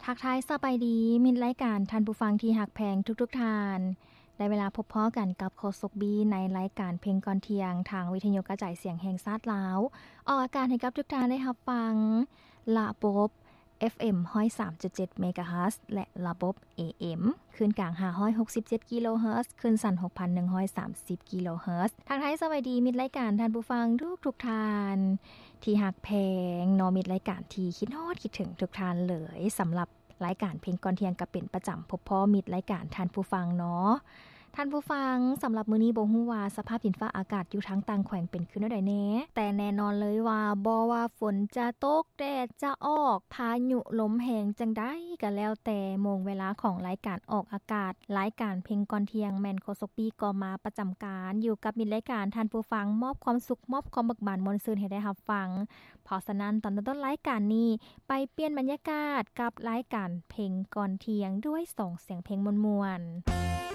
ທັກທາຍສະບາຍດີ ມິດລາຍການ ທ່ານຜູ້ຟັງທີ່ຮັກແພງທຸກໆທ່ານ. ໄດ້ເວລາພົບພໍ້ກັນກັບໂຄສົກບີ ໃນລາຍການເພງກ່ອນທ່ຽງ ທາງວິທະຍຸກະຈາຍສຽງແຫ່ງຊາດລາວ ອອກອາກາດໃຫ້ກັບທຸກທ່ານໄດ້ຮັບຟັງ ລະບົບ ເອັຟເອັມ ຮ້ອຍສາມຈຸດເຈັດ ເມກາເຮີດ ແລະ ລະບົບ ເອເອັມ ຄື້ນກາງ ຫ້າຮ້ອຍຫົກສິບເຈັດ ກິໂລເຮີດ ຄື້ນສັ້ນ ຫົກພັນໜຶ່ງຮ້ອຍສາມສິບ ກິໂລເຮີດ. ທັກທາຍສະບາຍດີ ມິດລາຍການ ທ່ານຜູ້ຟັງທຸກໆທ່ານ ທີ່ຮັກແພງເນາະ ມິດລາຍການທີ່ຄິດຮອດຄິດເຖິງທຸກທ່ານເລີຍ ສຳລັບລາຍການເພງກ່ອນທ່ຽງ ກໍເປັນປະຈຳ ພົບພໍ້ມິດລາຍການ ທ່ານຜູ້ຟັງເນາະ. ທ່ານຜູ້ຟັງ, ສຳລັບມື້ນີ້ບໍ່ຮູ້ວ່າສະພາບດິນຟ້າອາກາດຢູ່ທາງຕ່າງແຂວງເປັນຄືແນວໃດແດ່, ແຕ່ແນ່ນອນເລີຍວ່າ ບໍ່ວ່າຝົນຈະຕົກ ແດດຈະອອກ ພາຍຸລົມແຮງຈັ່ງໃດກໍແລ້ວແຕ່, ໂມງເວລາຂອງລາຍການອອກອາກາດ ລາຍການເພງກ່ອນທ່ຽງ ແມ່ນໂຄສົກບີກໍມາປະຈຳການ ຢູ່ກັບມິດລາຍການ ທ່ານຜູ້ຟັງ ມອບຄວາມສຸກ ມອບຄວາມເບີກບານມ່ວນຊື່ນໃຫ້ໄດ້ຮັບຟັງ. ເພາະສະນັ້ນ ຕອນຕົ້ນໆລາຍການນີ້ ໄປປ່ຽນບັນຍາກາດກັບລາຍການເພງກ່ອນທ່ຽງ ດ້ວຍສອງສຽງເພງມ່ວນໆ.